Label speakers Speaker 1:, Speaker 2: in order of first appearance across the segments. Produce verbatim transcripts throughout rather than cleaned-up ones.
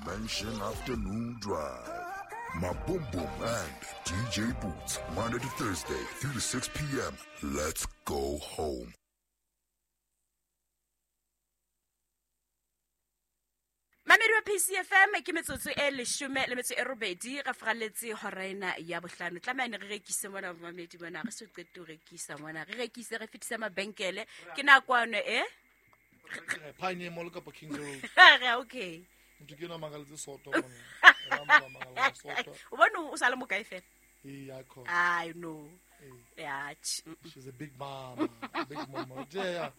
Speaker 1: Mansion Afternoon Drive. My Boom Boom and D J Boots, Monday to Thursday, three to six P M. Let's go home.
Speaker 2: Mamedi wa P C F M ke metsotso e leshome le metso e robedi re fraletse hora ena ya bohlano. Tlameha ne re rekise mona mamedi mona, re so qete ho rekisa mona, re rekise re fetise mabenkele. Ke nakwano e
Speaker 3: Pioneer Mall kapa Kings Road.
Speaker 2: Re okay.
Speaker 3: Motho ke yena a makaletse soto mona. Yena a makaletse soto.
Speaker 2: O bone o sa le mokae fela?
Speaker 3: Ee, ya khona.
Speaker 2: I know.
Speaker 3: Ee.
Speaker 2: Ya, tjhe, mm, mm.
Speaker 3: She's a big mama, big mama. Tje, ya.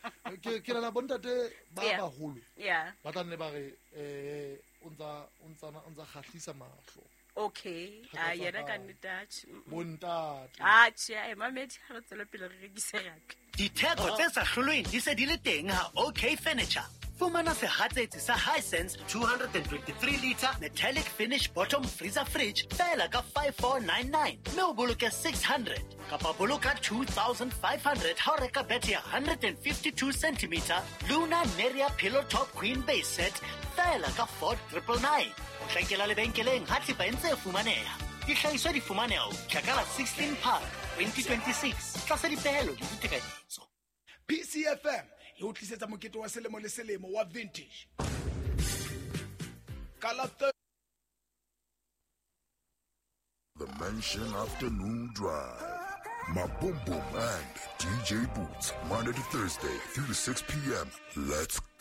Speaker 3: Ke, ke nahana bontate ba
Speaker 2: Yeah.
Speaker 3: baholo
Speaker 2: Yeah.
Speaker 3: ba tla nne ba re, eh, o ntsa, o ntsa, o ntsa kgahlisa mahlo.
Speaker 2: Okay.
Speaker 3: Thaka
Speaker 2: Ah,
Speaker 3: tsa
Speaker 2: yena ka
Speaker 3: hao.
Speaker 2: nnete, ah, tjhe, mm, mm.
Speaker 3: Bontate.
Speaker 2: Ah, tjhe, eh, mamedi, ha re tswele pele re rekise rape.
Speaker 4: Ditheko tse sa hlolweng di se di le teng ha OK Furniture. Fumana sehatsetsi sa Hisense two hundred and twenty-three liter metallic finish bottom freezer fridge feela ka five four nine nine, mme o boloke six hundred kapa boloka two thousand five hundred ha o reka bethe ya hundred and fifty-two centimeter Luna Neria pillow top queen base set feela ka four triple nine. O hlankela lebenkeleng ha thepa e ntse e fumaneha. Dihlahiswa di fumaneha ho fihla ka la sixteen Phato twenty twenty-six tlasa dipehelo le ditekanyetso.
Speaker 5: P C F M e o tlisetsa mokete wa selemo le selemo wa vintage. Ka la thir-
Speaker 1: The Mansion Afternoon Drive. My Boom Boom and D J Boots, Monday to Thursday, three to six P M. Let's go.